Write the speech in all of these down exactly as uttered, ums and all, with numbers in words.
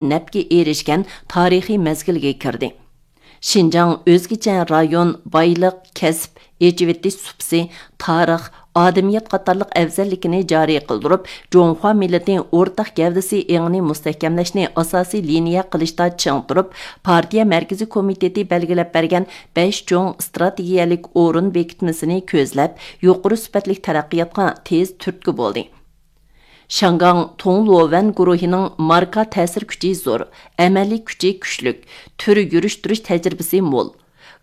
نەپكە ئېرىشكەن تارىخىي مەزگىلگە كىردى. شىنجاڭ ئۆزگىچە رايون، بايلىق، كەسىپ، ئېچىۋېتىش سۇپىسى، تارىخ، ئادەمىيەت قاتارلىق ئەۋزەللىكىنى جارى قىلدۇرۇپ، جۇڭخۇا مىللىتى ئورتاق گەۋدىسى ئېڭىنى مۇستەھكەملەشنى ئاساسىي لىنىيە قىلىشتا چىڭ تۇرۇپ، پارتىيە مەركىزىي كومىتېتى بەلگىلەپ بەرگەن بەش چوڭ ئىستراتېگىيەلىك ئورۇن بېكىتمىسىنى كۆزلەپ، يۇقىرى سۈپەتلىك تەرەققىياتقا تېز تۈرتكە بولدى. شياڭگاڭ توڭلۇۋەن گۇرۇھىنىڭ ماركا تەسىر كۈچى زور، ئەمەلىي كۈچى كۈچلۈك، تۈر يۈرۈشتۈرۈش تەجرىبىسى مول.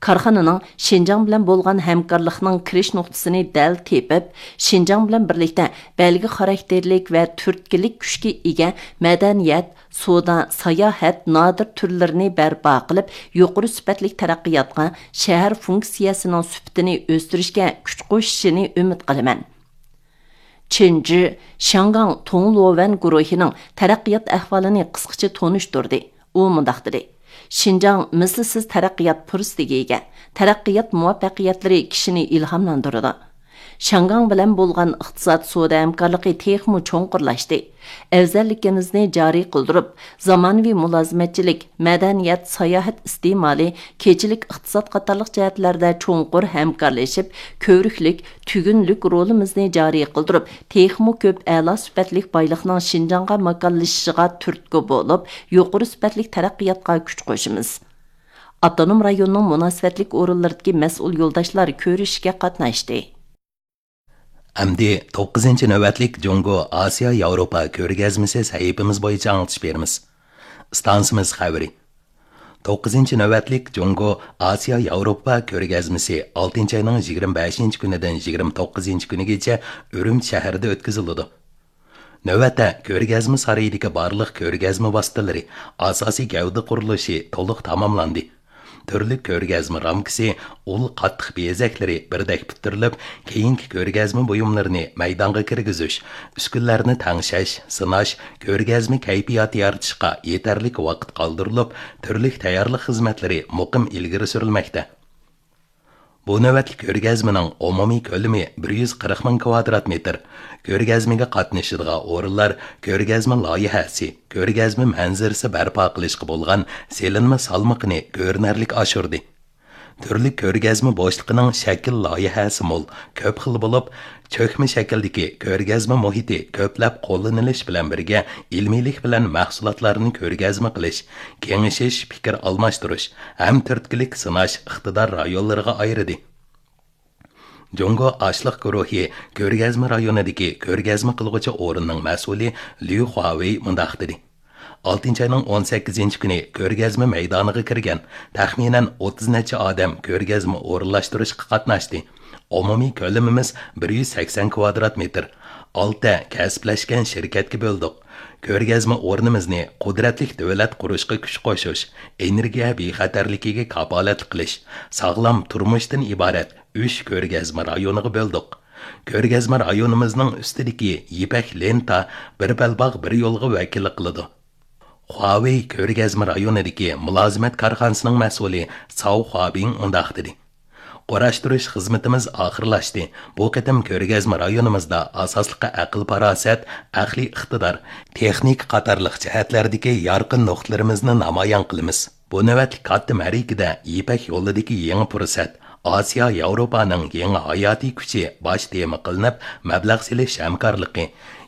كارخانىنىڭ شىنجاڭ بىلەن بولغان ھەمكارلىقنىڭ كىرىش نۇقتىسىنى دەل تېپىپ، شىنجاڭ بىلەن بىرلىكتە بەلگە خاراكتېرلىك ۋە تۈرتكىلىك كۈچكە ئىگە مەدەنىيەت، سودا، ساياھەت نادىر تۈرلىرىنى بەرپا قىلىپ، يۇقىرى سۈپەتلىك تەرەققىياتقا، شەھەر فۇنكسىيەسىنىڭ سۈپىتىنى ئۆستۈرۈشكە كۈچ قوشۇشىنى ئۈمىد قىلىمەن. چېن جى شياڭگاڭ توڭلۇۋەن گۇرۇھىنىڭ تەرەققىيات ئەھۋالىنى قىسقىچە تونۇشتۇردى. ئۇ مۇنداق دېدى: شىنجاڭ مىسلىسىز تەرەققىيات پۇرسىتىگە ئىگە. تەرەققىيات مۇۋەپپەقىيەتلىرى كىشىنى ئىلھاملاندۇرىدۇ. شياڭگاڭ بىلەن بولغان ئىقتىساد سودا ھەمكارلىقى تېخىمۇ چوڭقۇرلاشتى. ئەۋزەللىكىمىزنى جارى قىلدۇرۇپ، زامانىۋى مۇلازىمەتچىلىك، مەدەنىيەت، ساياھەت ئىستېمالى، كېچىلىك ئىقتىساد قاتارلىق جەھەتلەردە چوڭقۇر ھەمكارلىشىپ، كۆۋرۈكلۈك، تۈگۈنلۈك رولىمىزنى جارى قىلدۇرۇپ، تېخىمۇ كۆپ ئەلا سۈپەتلىك بايلىقنىڭ شىنجاڭغا ماكانلىشىشىغا تۈرتكە بولۇپ، يۇقىرى سۈپەتلىك تەرەققىياتقا كۈچ قوشىمىز. ئاپتونوم رايوننىڭ مۇناسىۋەتلىك ئورۇنلىرىدىكى مەسئۇل يولداشلار كۆرۈشۈشكە قاتناشتى. ئەمدى توققۇزىنچى نۆۋەتلىك جۇڭگو ئاسىيا ياۋروپا كۆرگەزمىسى سەھىپىمىز بويىچە ئاڭلىتىش بېرىمىز. ئىستانسىمىز خەۋىرى. توققۇزىنچى نۆۋەتلىك جۇڭگو ئاسىيا ياۋروپا كۆرگەزمىسى ئالتىنچى ئاينىڭ يىگىرمە بەشىنچى كۈنىدىن يىگىرمە توققۇزىنچى كۈنىگىچە ئۈرۈمچى شەھىرىدە ئۆتكۈزۈلىدۇ. نۆۋەتتە، كۆرگەزمە سارىيىدىكى بارلىق كۆرگەزمە ۋاسىتىلىرى، ئاساسىي گەۋدە قۇرۇلۇشى تولۇق تاماملاندى. تۈرلۈك كۆرگەزمە رامكىسى، ئۇل قاتتىق بېزەكلىرى بىردەك پۈتتۈرۈلۈپ، كېيىنكى كۆرگەزمە بۇيۇملىرىنى مەيدانغا كىرگۈزۈش، ئۈسكۈنىلەرنى تەڭشەش، سىناش، كۆرگەزمە كەيپىياتى يارىتىشقا يېتەرلىك ۋاقىت قالدۇرۇلۇپ، تۈرلۈك تەييارلىق خىزمەتلىرى مۇقىم ئىلگىرى سۈرۈلمەكتە. بۇ نۆۋەتلىك كۆرگەزمىنىڭ ئومۇمىي كۆلىمى بىر يۈز قىرىق مىڭ كىۋادرات مېتىر. كۆرگەزمىگە قاتنىشىدىغان ئورۇنلار، كۆرگەزمە لايىھەسى، كۆرگەزمە مەنزىرىسى بەرپا قىلىشقا بولغان سېلىنما سالمىقىنى كۆرۈنەرلىك ئاشۇردى. تۈرلۈك كۆرگەزمە بوشلۇقىنىڭ شەكىل لايىھەسى مول، كۆپ خىل بولۇپ، چۆكمە شەكىلدىكى كۆرگەزمە مۇھىتى كۆپلەپ قوللىنىلىش بىلەن بىرگە، ئىلمىيلىك بىلەن مەھسۇلاتلارنى كۆرگەزمە قىلىش، كېڭىشىش، پىكىر ئالماشتۇرۇش ھەم تۈرتكىلىك سىناش ئىقتىدار رايونلىرىغا ئايرىدى. جۇڭگو ئاشلىق گۇرۇھى كۆرگەزمە رايونىدىكى كۆرگەزمە قىلغۇچى ئورۇننىڭ مەسئۇلى ليۇ خۇاۋېي مۇنداق دېدى: ئالتىنچى ئاينىڭ ئون سەككىزىنچى كۈنى كۆرگەزمە مەيدانىغا كىرگەن تەخمىنەن ئوتتۇز نەچچە ئادەم كۆرگەزمە ئورۇنلاشتۇرۇشقا قاتناشتى. ئومۇمىي كۆلىمىمىز بىر يۈز سەكسەن كىۋادرات مېتىر. ئالتە كەسىپلەشكەن شىركەتكە بۆلدۇق. كۆرگەزمە ئورنىمىزنى قۇدرەتلىك دۆلەت قۇرۇشقا كۈچ قوشۇش، ئېنېرگىيە بىخەتەرلىكىگە كاپالەتلىك قىلىش، ساغلام تۇرمۇشتىن ئىبارەت ئۈچ كۆرگەزمە رايونىغا بۆلدۇق. كۆرگەزمە رايونىمىزنىڭ ئۈستىدىكى يىپەك لېنتا بىر بەلباغ بىر يولغا ۋەكىللىك قىلىدۇ. خۇاۋېي كۆرگەزمە رايونىدىكى مۇلازىمەت كارخانىسىنىڭ مەسئۇلى ساۋ خۇابىڭ مۇنداق دېدى: قۇراشتۇرۇش خىزمىتىمىز ئاخىرلاشتى. بۇ قېتىم كۆرگەزمە رايونىمىزدا ئاساسلىقى ئەقىل-پاراسەت، ئەقلىي ئىقتىدار، تېخنىكا قاتارلىق جەھەتلەردىكى يارقىن نۇقتىلىرىمىزنى نامايان قىلىمىز. بۇ نۆۋەتلىك كاتتا مەرىكىدە يىپەك يولىدىكى يېڭى پۇرسەت، ئاسىيا ياۋروپانىڭ يېڭى ھاياتىي كۈچى باش تېما قىلىنىپ، مەبلەغ سېلىش ھەمكارلىقى،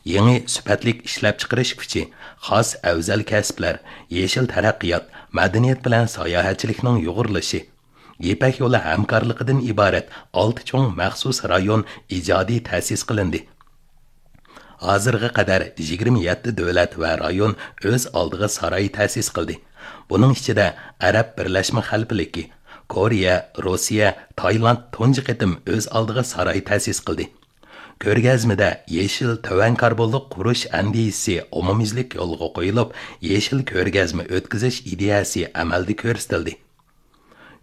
يېڭى سۈپەتلىك ئىشلەپچىقىرىش كۈچى، خاس ئەۋزەل كەسىپلەر، يېشىل تەرەققىيات، مەدەنىيەت بىلەن ساياھەتچىلىكنىڭ يۇغۇرۇلۇشى، يىپەك يولى ھەمكارلىقىدىن ئىبارەت ئالتە چوڭ مەخسۇس رايون ئىجادىي تەسىس قىلىندى. ھازىرغا قەدەر يىگىرمە يەتتە دۆلەت ۋە رايون ئۆز ئالدىغا ساراي تەسىس قىلدى. بۇنىڭ ئىچىدە ئەرەب بىرلەشمە خەلىپىلىكى، كورېيە، روسىيە، تايلاند تۇنجى قېتىم ئۆز ئالدىغا ساراي تەسىس قىلدى. كۆرگەزمىدە يېشىل تۆۋەن كاربونلۇق قۇرۇش ئەندىزىسى ئومۇميۈزلۈك يولغا قويۇلۇپ، يېشىل كۆرگەزمە ئۆتكۈزۈش ئىدىيەسى ئەمەلدە كۆرسىتىلدى.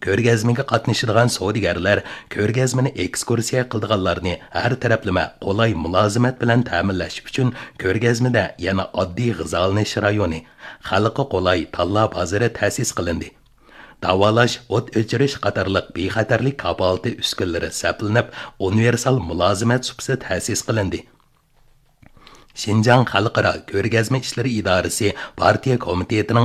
كۆرگەزمىگە قاتنىشىدىغان سودىگەرلەر، كۆرگەزمىنى ئېكسكۇرسىيە قىلىدىغانلارنى ھەر تەرەپلىمە قولاي مۇلازىمەت بىلەن تەمىنلەش ئۈچۈن كۆرگەزمىدە يەنە ئاددىي غىزالىنىش رايونى، خەلققە قولاي تاللا بازىرى تەسىس قىلىندى. داۋالاش، ئوت ئۆچۈرۈش قاتارلىق بىخەتەرلىك كاپالىتى ئۈسكۈنىلىرى سەپلىنىپ، ئۇنىۋېرسال مۇلازىمەت سۇپىسى تەسىس قىلىندى. شىنجاڭ خەلقئارا كۆرگەزمە ئىشلىرى ئىدارىسى پارتىيە كومىتېتىنىڭ